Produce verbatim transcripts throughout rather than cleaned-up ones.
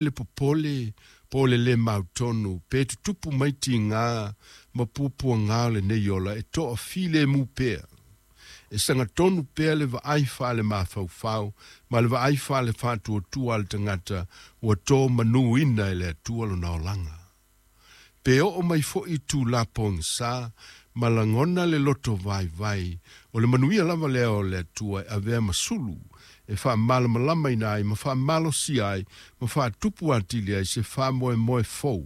Le popole po o le lē mautonu pe tutupu mai tigā ma puapuagā o lenei ola e toafilemu pea. E sagatonu pea le vaai faalemafaufau ma le vaai faalefaatuatua a le tagata ua to manuina e le Atua lona olaga. Pe oo mai foʻi itulā pogasā ma lagona le loto vaivai, o le manuia lava lea o le Atua e avea ma sulu e faamalamalamaina ai ma faamalosia ai ma faatupu atili ai se faamoemoe fou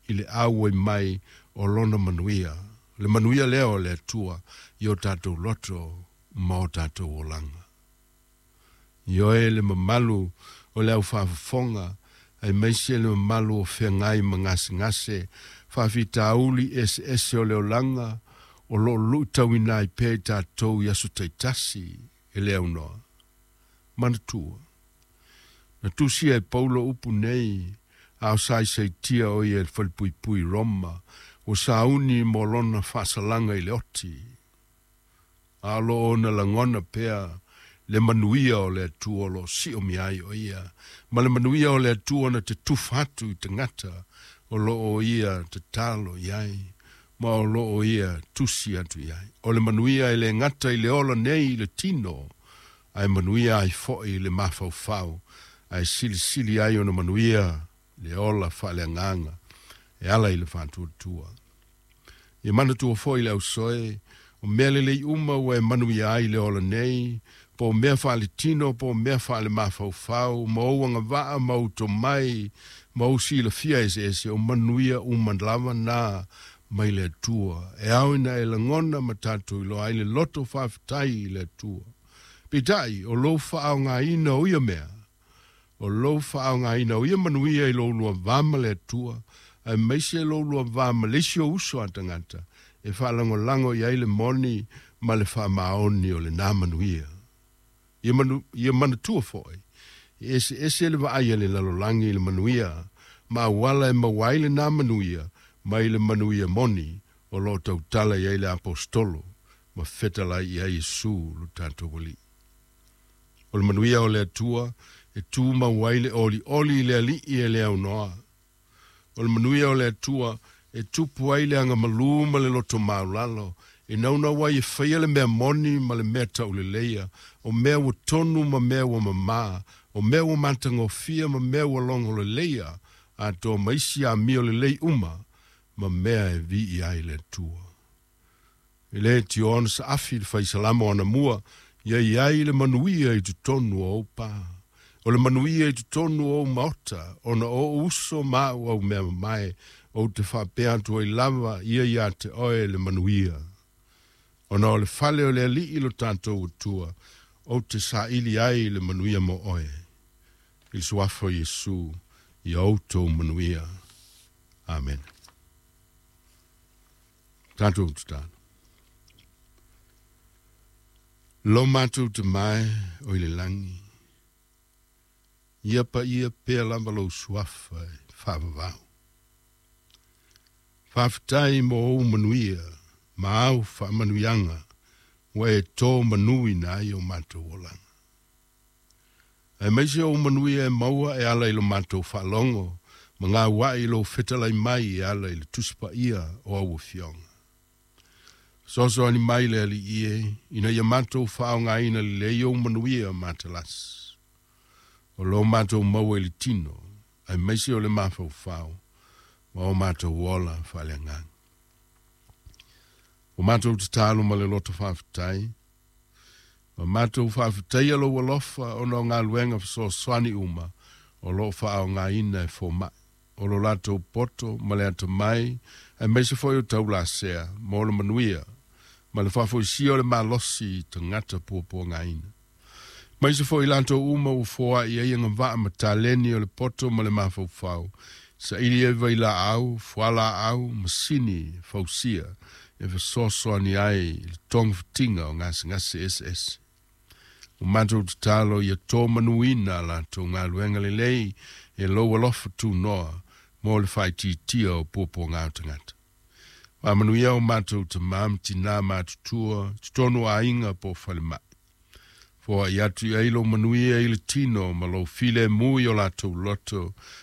i le auai mai o lona manuia, le manuia lea o le Atua i o tatou loto ma o tatou olaga. Ioe, le mamalu o le aufaafofoga aemaise le mamalu o feagai ma gasegase faafitauli eseese o le olaga o loo luitauina ai pea i tatou i aso taitasi e le aunoa. Manatua, na tusia e Paulo upu nei a o saisaitia o ia i le falepuipui Roma ua sauni mo lona faasalaga i le oti, a o loo ona lagona pea le manuia o le Atua o loo siomia ai o ia, ma le manuia o le Atua na te tufa atu i tagata o loo ia tatalo i ai ma o loo ia tusi atu i ai. O le manuia e le gata i le ola nei i le tino, ae manuia ai foʻi le mafaufau, ae silisili ai ona manuia le ola faaleagaga e ala i le faatuatua. Ia manatua foʻi le ausoe, o mea lelei uma ua e manuia ai le ola nei, po o mea faaletino po o mea faalemafaufau ma ou agavaa ma ou tomai ma ou silafia eseese, o manuia uma lava na mai le Atua e ao ina e lagona ma tatou iloa ai le loto faafetai i le Atua. Peitai, o lou faaaogaina o ia mea, o lou faaaogaina o ia manuia i lou lua va ma le Atua, aemaise lou lua va ma le isi ou uso a tagata, e faalagolago i ai le moni ma le faamaoni o lenā manuia. Ia, manu, ia manatua foʻi, e eseese le vaai a le lalolagi i le manuia ma auala e maua ai lenā manuia mai le manuia moni o loo tautala i ai le aposetolo ma fetalai i ai Iesu lo tatou Alii. O le manuia o le Atua e tumau ai le olioli i le Alii e le aunoa. O le manuia o le Atua e tupu ai le agamalū ma le loto maulalo, e naunau ai e faia le mea moni ma le mea tauleleia, o mea ua tonu ma mea ua mamā, o mea ua matagofie ma mea ua logoleleia, atoa ma isi amio lelei uma ma mea e viia ai le Atua. E lē tioa ona saafi le faisalamo anamua, ia i ai le manuia i totonu o ou pā. O le manuia i totonu o ou maota, ona o ou uso ma au au mea mamae, ou te faapea atu ai lava ia iā te oe le manuia. Ona o le fale o le Alii lo tatou Atua, ou te saili ai le manuia mo oe. I le suafa o Iesu, ia outou manuia. Amene. Tatou tatalo. Lo matou Tama e o i le lagi, ia paia pea lava lou suafa e faavavau. Faafetai mo ou manuia ma au faamanuiaga ua e tō manuina ai o matou olaga. Aemaise ou manuia e maua e ala i lo matou faalogo ma gauai i lou fetalai mai e ala i le Tusi Paia o au Afioga. Fesoasoani mai le Alii e, ina ia matou faaaogaina lelei ou manuia matalasi o lo matou maua i le tino, aemaise o le mafaufau ma o matou ola faaleagaga. O matou tatalo ma le loto faafetai, ma matou faafetaia lou alofa ona o galuega fesoasoani uma o loo faaaogaina e fomai, o lo latou poto ma le atamai, aemaise foi o taulasea mo le manuia ma le faafoisia o le malosi i tagata puapuagaina. Aemaise foi latou uma ua foai ai agavaa ma taleni o le poto ma le mafaufau, saili ai vailaau, fualaau, masini fausia e fesoasoani ai i le togafitiga o gasegase eseese. O matou tatalo ia tō manuina latou galuega lelei e lou alofa tunoa mo le faaitiitia o puapuaga o tagata. Faamanuia o matou tamā ma tinā matutua, totonu o aiga po o falemai. Foai atu i ai lou manuia i le tino ma lou filemu i o latou loto.